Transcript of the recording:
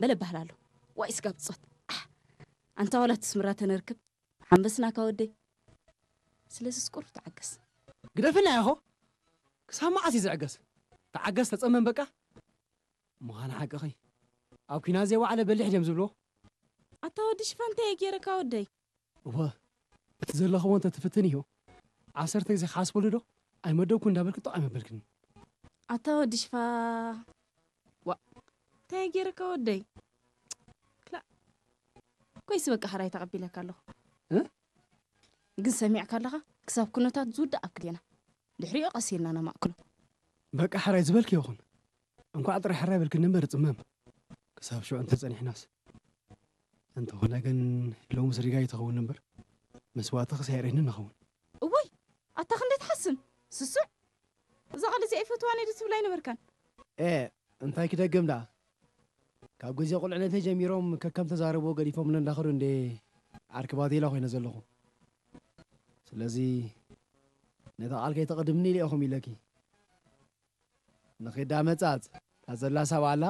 በለ ባህላሉ። ዋይ ስጋብ ጾት። ኣንታ ዋላ ትስምራ ተነርክብ ሓንበስናካ ወደይ። ስለዚ ስቁር ተዓገስ። ግደፍና ያኾ። ክሳብ መዓስ እዩ ዝዕገስ? ተዓገስ፣ ተጸመም በቃ። ምዃን ሓቅኺ። ኣብ ኲናት ዘይወዓለ በሊሕ ድዮም ዝብልዎ? ኣታ ወዲ ሽፋ እንታይ እየ ገይረካ ወደይ? እወ፣ እቲ ዘለኽዎ እንተ ትፍትን እዩ። ዓሰርተ ግዜ ክሓስበሉ ዶ? ኣይመደብኩ እንዳበልክ ጥቕ ኣይመበልክን። ኣታ ወዲ ሽፋ። ዋ፣ እንታይ እየ ገይረካ ወደይ? ክላ ኮይስ በቃ ሕራይ ተቐቢለካ ኣለኹ። እ? ግን ሰሚዕካ ኣለኻ? ክሳብ ኩነታት ዝውዳእ ኣብ ክልቴና። ድሕሪኡ ቀስ ኢልና ነማእክሎ። በቃ ሕራይ ዝበልክ ይኹን። እንኳዕ ጥራይ ሕራይ በልክኒ እምበር ጽመም። ክሳብ ሽዑ እንተጸኒሕናስ። እንተኾነ ግን ሎምስ ሪጋ ይትኸውን እምበር መስዋእቲ ክሳይሬኒ ንኸውን። እወይ፣ ኣታ ክንደይ ትሓስም? ስሱዕ። እዛ ቃል እዚኣ ይፈትዋን እየ ዶ ትብል ኣይነበርካን? ኤ፣ እንታይ ክደግም ደኣ? ካብ ግዜ ቁልዕነተይ ጀሚሮም ከከም ተዛረብዎ ገዲፎምኒ እንዳኸዱ እንዴ ዓርኪ ባቴላ ኮይነ ዘለኹ። ስለዚ ነታ ቃል ከይተቐድምኒ ኢለ ኢኹም ኢለኪ። ንኺዳ መጻጽ፣ እታ ዘላ ሳብ ኣላ፣